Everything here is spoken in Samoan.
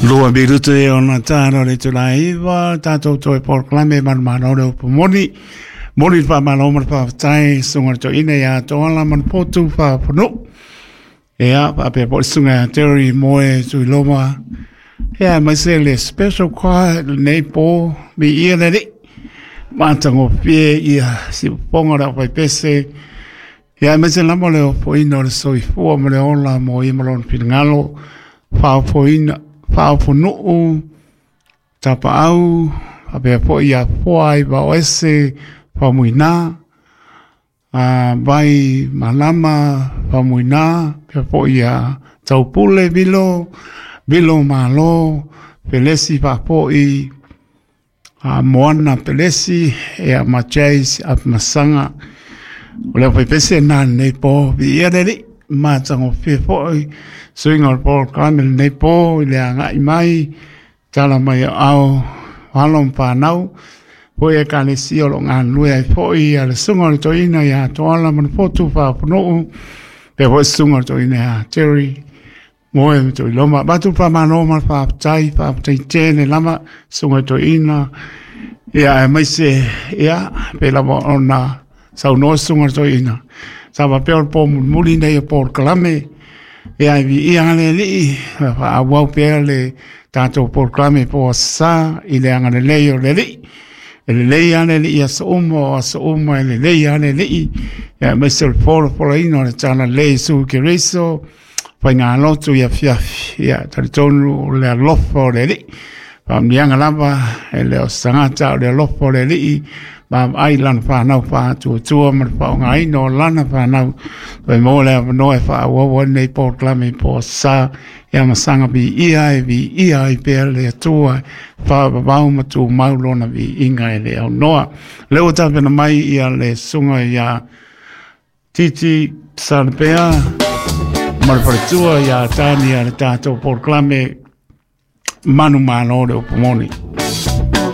Lua minutu e ona tāra o le itula e 9, tātou toe polokalame manumalo le upu moni. Moni le faamalo ma le faafetai, susuga i le toeaina ia Toala ma le Potu Faafanuu. Ia, faapea foi le susuga ia Terry Moe Tuiloma. Ia, aemaise le special choir lenei po, viia le Alii. Matagofie ia siufofoga o le aufaipese. Ia, aemaise lava le ofoina o le soifua ma le ola mo ia ma lona finagalo, faaofoina, faaofonuu, tapaau, faapea foi ia foa ai vaoese, faamuina, a vai malama, faamuina, faapea foi ia taupule vilo, vilo malo, pelesi faapoi, a Moana Pelesi, ia ma Chase Apimasaga. O le aufaipese na lenei po, viia le Alii, matagofie foi suiga o le polokalame lenei po i le agai mai, tala mai o ao, alo ma fanau, foi ekalesia o lo o galulue ai foi ia le susuga o le toeaina ia Toala ma le Fotu Faafanuu, faapea foi le susuga o le toeaina ia Terry Moe ma Tuiloma. Avatu le faamalo ma le faafetai, faafetai tele lava susuga i toeaina, ia aemaise ia pei lava ona saunoa susuga i toeaina, sa faapea o le po mulimuli lenei o polokalame, ia e viia le Alii, faaauau pea le tatou polokalame po o Aso Sa i le agalelei o le Alii. E lelei lava le Alii i aso uma, o aso uma e lelei lava le Alii, ia aemaise o le folafolaina o le talalelei o Iesu Keriso, faigalotu i afiafi, ia talitonu o le alofa o le Alii. Faamanuiaga lava e le o se tagata o le alofa o le Alii, vaavaai i lana fanau faatuatua ma le faaaogaina o lana fanau, toe maua le avanoa e faaauau ai lenei polokalame po o Sa, ia ma saga viia e viia ai pea le Atua, faavavau ma tumau lona viiga e le aunoa. Lea ua tapena mai ia le susuga ia Titi Salapea ma le faletua ia Tania le tatou polokalame manumalo le upu moni.